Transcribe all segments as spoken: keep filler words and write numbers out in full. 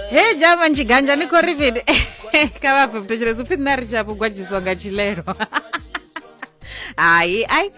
He jama njiganja ni khou ri mini? Kha vha pfe muthetshelesi upfi nṋe a ri tsha gwadzhiswa nga tshilelo. Hai ai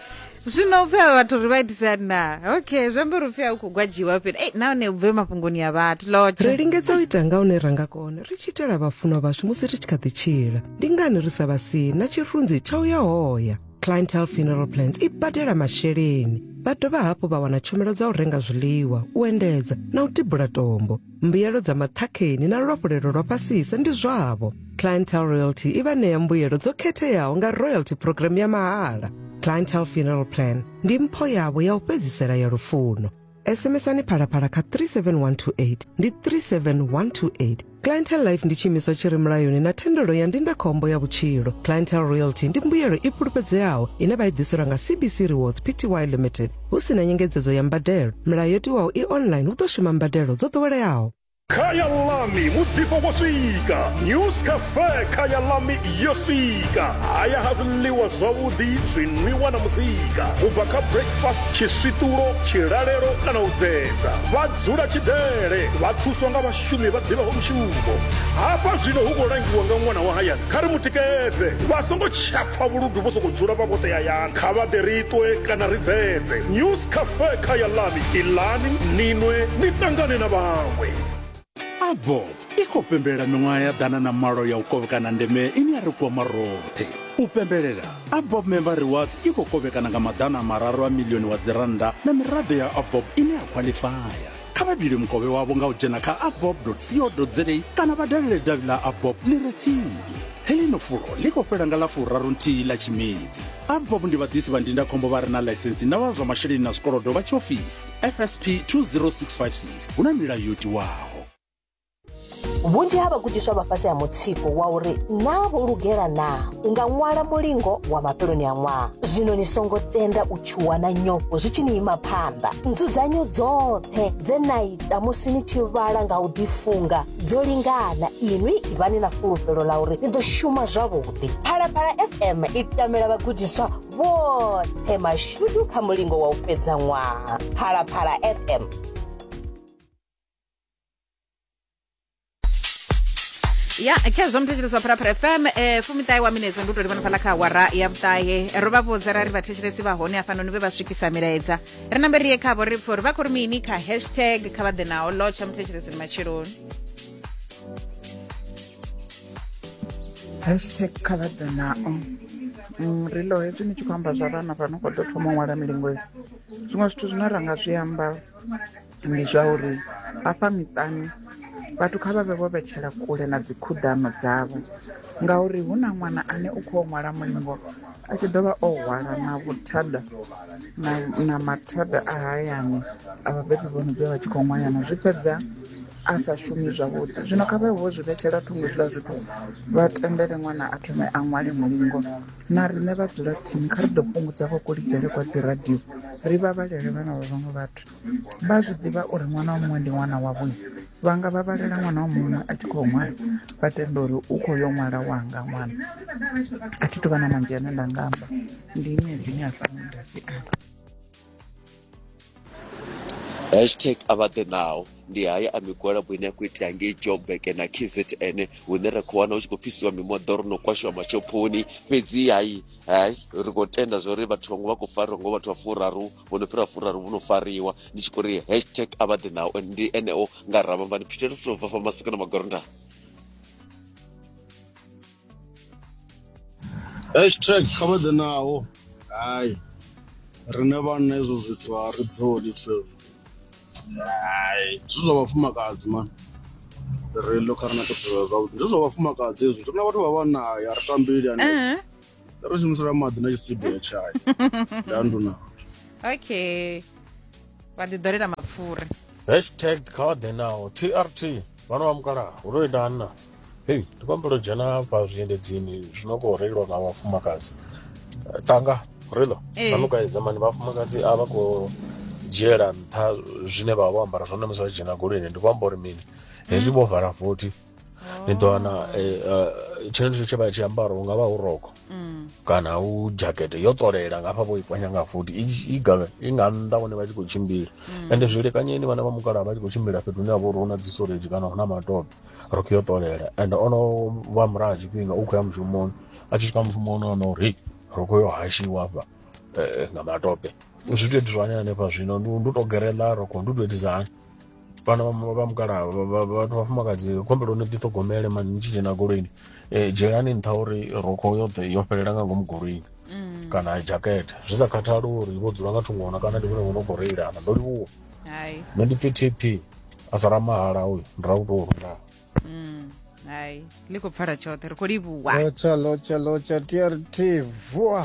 zwino upfi avha vhathu ri vha itisa na. Okay, zwi amba uri upfi a u khou gwadziwa fhedzi. Ei nahone u bve mafhungoni a vhathu lotsha. Ri lingedza u ita nga hune ra nga kona ri tshi itela vhafunwa vhashu musi ri tshi kha ḓi tshila. Ndi ngani ri sa vha sii na tshirunzi tsha u ya hoya? Clientele Funeral Plans i badela masheleni. Vha dovha hafhu vha wana tshumelo dza u renga zwiḽiwa, u endedza na u tibula tombo. Mbuyelo dza maṱhakheni na luafhulelo lwa fhasisa ndi zwavho. Clientele Royalty i vha ṋea mbuyelo dzo khetheaho nga royalty program ya mahala. Clientele Funeral Plan ndi mpho yavho ya u fhedzisela ya lufuno. SMSani Phalaphala kha three seven one two eight ndi three seven one two eight. Clientele Life ndi tshiimiswa tshi re mulayoni na thendelo ya ndindakhombo ya vhutshilo. Clientele Royalty ndi mbuyelo i fhulufhedzeaho ine vha i ḓiselwa nga C B C Rewards P T Y Limited hu si na nyengedzedzo ya mbadelo. Milayo yo tiwaho i online hu ḓo shuma mbadelo dzo ḓoweleaho. Khaya Lami muḓifho wo swika. News Cafe Khaya Lami yo swika. Haya ha zwiḽiwa zwavhuḓi, zwinwiwa na muzika. U bva kha breakfast, tshiswiṱulo, tshilalelo kana u dzedza. Vha dzula tshidele, vha thuswa nga vhashumi vha ḓivhaho mushumo. Hafha zwino hu khou langiwa nga ṅwana wa hayani. Kha ri mutikedze. Vha songo tsha pfa vhuludu vho sokou dzula vha vhoṱhe hayani. Kha vha ḓe ri ṱwe kana ri dzedze. News Cafe Khaya Lami. Iḽani, ni nwe, ni ṱangane na vhaṅwe. Avob i khou pembelela miṅwaha ya ḓana na malo ya u kovhekana ndeme ine ya ri kwama roṱhe. U pembelela Avob Member Rewards i khou kovhekana nga maḓana mararu a milioni wa dzirannda na miraḓo ya Avob ine ya khwaḽifaya. Kha vha bile mukovhe wavho nga u dzhena kha avob dot co dot za kana vha dalele davhi ḽa Avob ḽi re tsini. Heḽino fulo ḽi khou fhela nga ḽa furaru nthihi ḽa Tshimedzi. Avob ndi vhaḓisi vha ndindakhombo vha re na ḽaisensi na vha zwa masheleni na zwikolodo vha tshiofisi F S P two zero six five six. Hu na milayo yo tiwaho. Vhunzhi ha vhagudiswa vha fhasi ha mutsiko wa uri naa vho lugela naa u nga ṅwala mulingo wa mafheloni a ṅwaha. Zwino ni songo tenda u tshuwa na nyofho zwi tshi ni ima phanḓa. Nzudzanyo dzoṱhe dze na ita musi ni tshi vhala nga u ḓifunga dzo lingana. Inwi ivhani na fulufhelo ḽa uri ni ḓo shuma zwavhuḓi. Phalaphala F M i tamela vhagudiswa vhoṱhe mashudu kha mulingo wa u fhedza ṅwaha. Phalaphala F M. Ya, khezwo muthetshelesi wa Phalaphala F M eh fumiṱahe wa minetse ndi u tou livhana fhaḽa kha awara ya vhuṱahe. Ro vha vhudza ra ri vhathetshelesi vha hone hafhanoni vhe vha swikisa milaedza. Ri nambe ri ye khavho ri pfe uri vha khou ri mini kha hashtag kha vha ḓe naho. Lotsha muthetshelesi ni matsheloni. Hashtag kha vha ḓe nao. Ri ḽo hezwi ni tshi khou amba zwa vhana vha no khou ḓo thoma u ṅwala milingo, zwiṅwe zwithu zwine ra nga zwi amba ndi zwa uri hafha miṱani vhathu kha vha vhe vho vhetshela kule na dzikhuḓano dzavho, ngauri hu na ṅwana ane u khou ṅwala mulingo a tshi ḓovha o hwala na vhuthada na, na mathada a hayani a vhabebi vho no ḓovha vha tshi khou ṅwayana, zwi fhedza a sa shumi zwavhuḓi. Zwino kha vha vhe vho zwi vhetshela thungo hezwiḽa zwithu, vha tendele ṅwana a thome a ṅwale mulingo. Na riṋe vha dzula tsini kha ri ḓo fhungudza vho kulidzele kwa dzi radio, ri vhavhalele vhana vha vhaṅwe vhathu. Vha zwi ḓivha uri ṅwana wa muṅwe ndi ṅwana wavho, vha nga vhavhalela ṅwana wa muṅwe a tshi khou ṅwala, vha tenda uri u khou yo ṅwala wanga ṅwana. A thi tu vha na manzhi ane nda nga amba, ndi ine dzine hafha nda si amba. Hashtag a vha ḓe nao ndi haya a migwalabo ine ya khou itea ngei Joburg na K Z N, hune ra khou wana hu tshi khou fhisiwa mimoḓoro no kwashiwa mashophoni. Fhedzi hayi hayi ri khou tenda zwa uri vhathu vhaṅwe vha khou fariwa ngo vhathu vha furaru vho no fhira furaru vho no fariwa. Ndi tshi khou ri hashtag a vha ḓe nao ndi eneo nga Ramambani Peter ri tou bva fa Masiko na Magoronda. Hashtag kha vha ḓe nao. Hai riṋe vhanna hezwo zwithu a ri ḓoli zwezwo. Hai zwi zwa vhafumakadzi mani, ri ḽo kha ri na khethululo zwavhuḓi, ndi zwa vhafumakadzi hezwo. Ri na vhathu vha vhanna a ri tambeli hanefho, ri shumisela maḓi na tshisibe ya tshayi. Ndanduna. Okay, vha ḓi ḓolela mapfura. Hashtag kha vha ḓe nao T R T vhana vha mukalaha hu tou ita hanna. Hei ndi khou humbela u dzhena hafha zwiendedzini zwi no khou reiliwa nga vhafumakadzi. Tanga rilo Ee. vha kaidza mani vhafumakadzi a vha khou dzhiela nṱha zwine vha vha vho ambara zwone musi vha tshi dzhena goloini. Ndi khou amba uri mini, hezwi vho vala vothi Ni ḓo wana tshenetsho tshe vha tshi ambara hu nga vha hu rokho kana hu dzhakete yo ṱolela nga hafha vho i kwanya nga futhi i i nga nnḓa hone vha tshi khou tshimbila. Ende zwi lekanyeni vhana vha mukalaha vha tshi khou tshimbila fhethu hune ha vha uri hu na dzi storage kana hu na matope, rokho yo ṱolela. Ende ono vha murahu ha tshifhinga u khou ya mushumoni, a tshi swika mushumoni wana uri rokho yo hashiwa hafha nga matope. Zwi tou itiswa hani hanefha zwino ndi u tou gereḽa rokho, ndi u tou itisa hani? Vhana vha mukalaha, vhathu vhafumakadzi khombelo ni ḓiṱhogomele mani ni tshi dzhena goloini, dzhielani nṱha uri rokho yoṱhe yo fhelela nga ngomu goloini kana dzhakete, zwi sa khathali uri vho dzula nga thungo na kana ndi vhone vho no khou reilana. Ndo livhuwa. Nṋe ndi pfhi T P a sala mahala uyu ndi ra u tou nda. Hai, ḽi khou pfala tshoṱhe, ri khou livhuwa. Lotsha lotsha lotsha T R T vua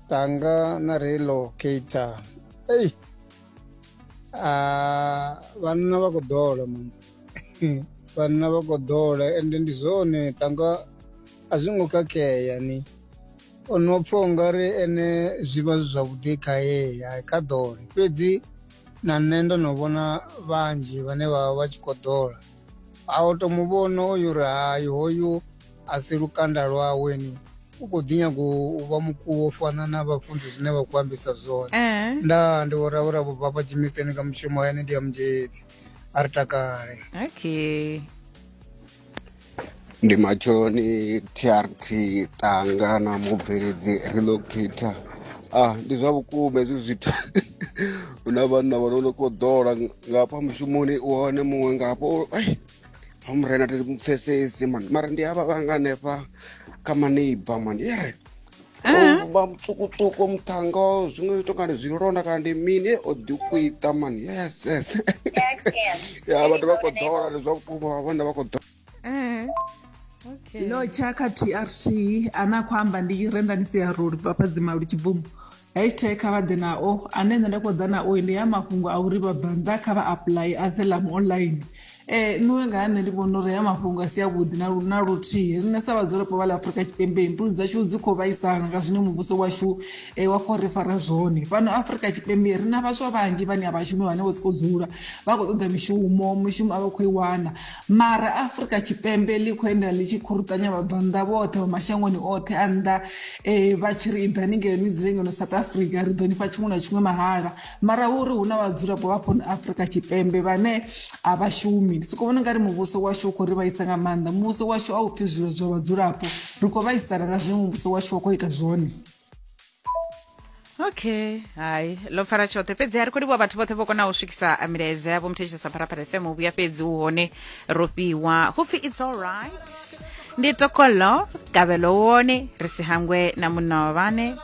tanga na relocator. Ei. Ah, vhanna vha khou ḓola man. Vhanna vha khou ḓola ende ndi zwone tanga a zwi ngo khakhea ni. Ono pfha ungari ene zwi vha zwi zwavhuḓi khaye kha ḓole, fhedzi na nṋe ndo no vhona vhanzhi vhane vha vha vha tshi khou ḓola. A u to muvhona oyu uri hai hoyu a si lukanda lwawe ni, u khou ḓi nyaga u vha mukuwo u fana na vhafunzi zwine vha khou ambisa zwone. Nda ndi vho ravhura vho bva Jimisteni nga mushumo ene ndi ya Munzhedzi, a ri takale. Okay. Ndi matsheloni T R T tanga na mubveledzi relocator. Ah, ndi zwa vhukuma hezwi zwithu. Hu na vhanna vha no khou ḓola ngafha mushumoni, u wane muṅwe ngafho ha murena thi mupfesesi mani, mara ndi havha vhanga hanefha kha maneiba mani yere vha mutsukutsuku muṱhanga zwiṅwe to kana zwilonda kana ndi mini o ḓi kwita mani. Yes yes. Ya vhathu vha khou ḓola, ndi zwa vhukuma vhanna vha khou ḓola. Okay. Lotsha kha T R T ana khou amba ndi Rendani Siaruli bva Dzimalu Tshibvumo. Hashtag kha vha ḓe nao, ane nṋe nda khou ḓa nao ndi ya mafhungo a uri vhabvannḓa kha vha apply asylum online. Eh nṋe nga nṋe ndi vhona uri ya mafhungo a si avhuḓi na na luthihi. Riṋe sa vhadzulapo vha ḽa Afrika Tshipembe mbilu dzashu dzi khou vhaisala nga zwine muvhuso washu wa khou ri fara zwone. Fhano Afrika Tshipembe ri na vhaswa vhanzhi vhane a vha shumi, vhane vho sokou dzula vha khou ṱoḓa mishumo, mishumo a vha khou i wana. Mara Afrika Tshipembe ḽi khou endela ḽi tshi khuruṱanya vhabvannḓa vhoṱhe vha mashangoni oṱhe a nnḓa, vha tshi ri iḓani ngeno ni dzule ngeno South Africa ri ḓo ni fha tshiṅwe na tshiṅwe mahala. Mara hu uri hu na vhadzulapo vha fhano Afrika Tshipembe vhane a vha shumi. Ndi soko vhona ungari muvhuso washu u khou ri vhaisa nga maanḓa. Muvhuso washu a u pfhi zwilo zwa vhadzulapo, ri khou vhaisala nga zwine muvhuso washu wa khou ita zwone. Okay, hai ḽo pfala tshoṱhe. Fhedzi a ri khou livhuwa vhathu vhoṱhe vho konaho u swikisa milaedza yavho muthetshelesi wa Phalaphala F M. U vhuya fhedzi u hone ro fhiwa hu pfhi it's all right. Ndi tokolo kabelo wone ri si hangwe na munna wa vhane.